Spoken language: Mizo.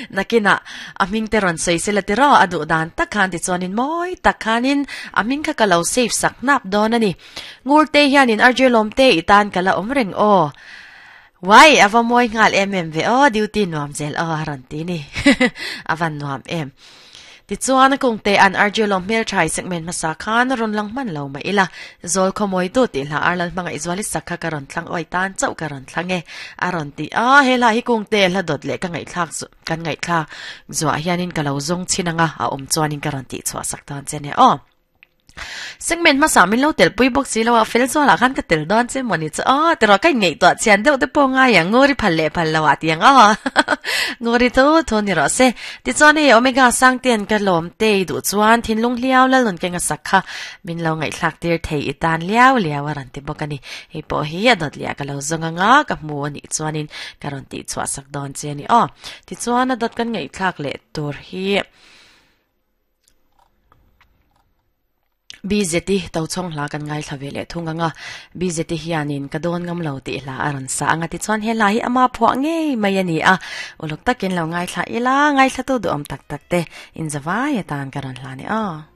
Nakinah a hming te rawn sawi sela tiraw a duh dan tak khan tichuanin mawi tak khanin a hming kha ka lo save sak hnap dawn a ni. Ngurte hianin RJ Lawmte i tan ka la awm reng aw. Wai a va mawi nghal em em ve aw duty nuam zel aw a rawn ti ni. A van nuam em. Tichuan kungte an RJ Lawm hmeltha i segment hmasa khan rawn lang hman lo mah ila. Zawl khawmawi tu tih hla Arlal hmangaih zuali sak kha ka rawn thlang awi tan chauh ka rawn thlang e a rawn ti a. He hla hi kungte hla dawt leh ka ngaihthlak kan ngaihthlak zuah hianin ka lo zawng chhin anga a awm chuanin ka rawn tihchhuah sak dawn che nia aw. Segment hmasa min lo tel pui bawk si lo a, fel zualah khan ka tel dawn che mawni chu aw tiraw ka inngaihtuah chian deuh te pawh ngai ang nguri phal leh phal lo ah ti ang aw nguri thu thu ni rawh se. Tichuan hei Omega Sangtean ka lawm te i duh chuan thinlung hliau lal nun keng a sak kha min lo ngaihthlak tir thei i tan liau liau a rawn ti bawk a ni. Hei pawh hi a dawt liah ka lo zawng anga ka hmu a nih chuanin ka rawn tihchhuah sak dawn che a ni aw. Tichuan a dawt kan ngaihthlak leh tur hi. BZI Tochhawng hla kan ngaithla ve leh thung ang a, BZI hianin ka dawn ngam lo tih hla a rawn sa ang a tichuan he hla hi ama phuah ngei mai a ni a, uluk takin lo ngaithla ila, ngaithlatu duhawm tak tak te inzavai atan ka rawn hla ni aw.